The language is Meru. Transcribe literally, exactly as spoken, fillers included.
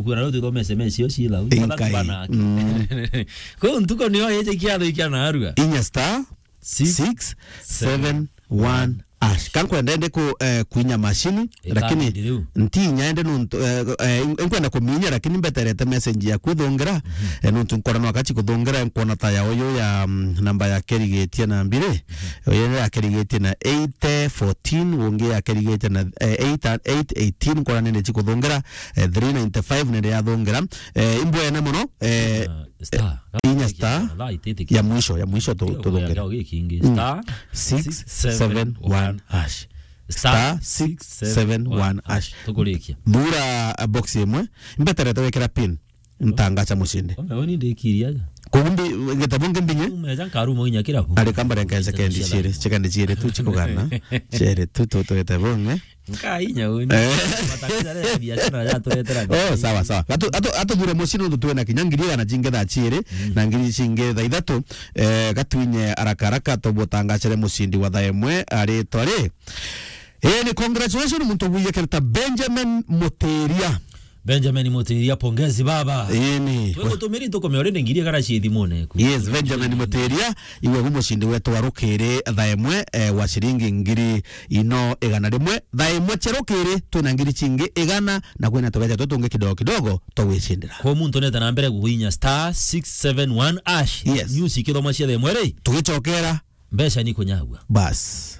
Kwira riu tuthome S M S cio ciila. Inkai. Bana. Mm. Kwou ntuko niyo ije kiatho ikia narua. Inya star six seven one hash. Kankwenda ende ku, eh, kuinya machine, lakini ntinya ende nuntu, eh, eh, nkwenda kuminya, lakini mbeterete message ya kuthongira. Eh, nuntu nkora no akachi kuthongira, nkwona ta ya uyu ya, mm, namba ya kerigetie na mbiri. Uyu ya kerigetie na eight fourteen, ungi ya kerigetie na, eh, eight, eight eighteen, nkora nene chi kuthongira, eh, three ninety-five nende ya thongira. Eh, imbwene muno, eh, star. Inya star ya mwisho, ya mwisho tu-, tuthongere. Star six seven one hash. Star six seven one hash. Tukurikia. Thura, uh, box imwe. Mbeterete wekera pin. Ntangacha mushindi. Ona we ni ndikiria aja. Kumbi, gitabo nge mbinye? Umeja nkaruma inya kirabu. Ari kamba renka sekendi ciere, sekendi ciere tu chikugana. Ciere tu, tu, tu gitabo nge. Nkai nyauni. Eh. Matatizo ya biashara ya turetera. Oh, sawa, sawa. Atu, atu, atu thura mushindi ndu twena kinya ngiri igana chinge thaa chiere, mm, na ngiri chinge thaa ithatu. Eh, gatwinye haraka haraka tubutangachere mushindi wa thaa imwe aritwa ri. Eh, ni congratulations muntu wiye kerta Benjamin Muteria. Benjamin Mutiria, pongezi baba. Ĩni. Twe gutumiri tukume already ngiri igana cia thimune ku. Yes, Benjamin Mutiria, iwe gu mushindi wetu wa rukiri thaa imwe, eh, wa ciringi ngiri ino igana rimwe. Thaa imwe cia rukiri, twina ngiri chingi igana, na kwina tubeca twe tungi kidogo kidogo twa gwicindira. Kwa muntu neta na mbere guinya star six seven one hash. Yes. News ikithoma cia thaa imwe ri. Tugicokera. Mbeca ni kunyagua. Bas.